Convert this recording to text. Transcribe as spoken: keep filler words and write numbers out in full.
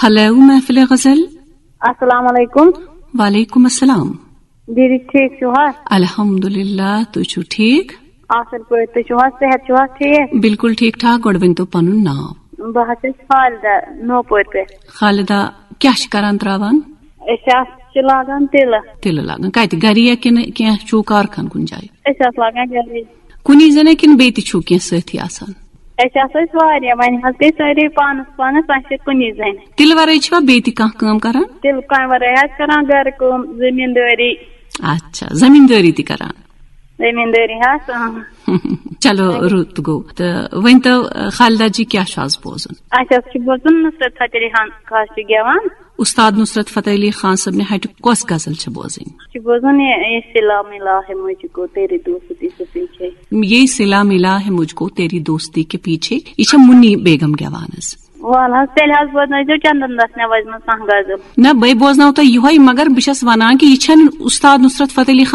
Hello محفل غزل۔ السلام علیکم۔ وعلیکم السلام۔ دیدی ٹھیک چھو حظ؟ الحمدللہ، تُہۍ چھِو ٹھیک؟ اصل پٲٹھۍ، تُہۍ چھِو حظ؟ صحت چھُو حظ ٹھیک؟ بالکل ٹھیک ٹھاک، گۄڈٕ ؤنۍ تو پنُن ناو۔ بہٕ حظ چھَس خالدہ نوپورِ پٮ۪ٹھ۔ خالدہ، کیٛاہ چھِ کران تراوان؟ أسۍ حظ چھِ لاگان تِلہٕ۔ تِلہٕ لاگان کتہِ، گرِ یا کِنہٕ کینٛہہ چھُو کارخان کُنہِ جایہِ؟ أسۍ حظ لاگان گرے۔ کُنی زٔنۍ کِنہٕ بیٚیہِ تہِ چھُو کینٛہہ سۭتھی آسان؟ أسۍ آسو أسۍ واریاہ، وۄنۍ حظ گٔے سٲری پانس پانس، اَسہِ چھِ کُنی زٔنۍ۔ تِلہٕ ورٲے چھِوا بیٚیہِ تہِ کانٛہہ کٲم کران؟ تِلہٕ کامہِ ورٲے حظ کران گرٕ کٲم، زٔمیٖندٲری۔ اچھا، زٔمیٖندٲری تہِ کران۔ زٔمیٖندٲری حظ، اۭں۔ چلو، رُت گوٚو۔ تہٕ ؤنۍ تو، خالدہ جی، کیٛاہ چھُ آز بوزُن؟ اَسہِ حظ چھُ بوزُن نُصرت فتح علی خان کٲشرِ گٮ۪وان۔ استاد نصرت فتح علی خان صٲبنہِ ہٹہِ کۄس غزل چھِ بوزٕنۍ؟ چھِ بوزُن یہِ، یہِ سلام الہ ہے مجھ کو تیری دوستی کے پیچھے۔ یہ سلام الہ ہے مجھ کو تیری دوستی کے پیچھے، یہِ چھےٚ مُنی بیگم گٮ۪وان حظ۔ وَل حظ، تیٚلہِ حظ بوزنٲیزیو چندن دس نوٲژِ منٛز کانٛہہ غزل۔ نہ، بے بوزناو تۄہہِ یِہوٚے، مگر بہٕ چھَس وَنان کہِ یہِ چھَنہٕ استاد نصرت فتح علی خان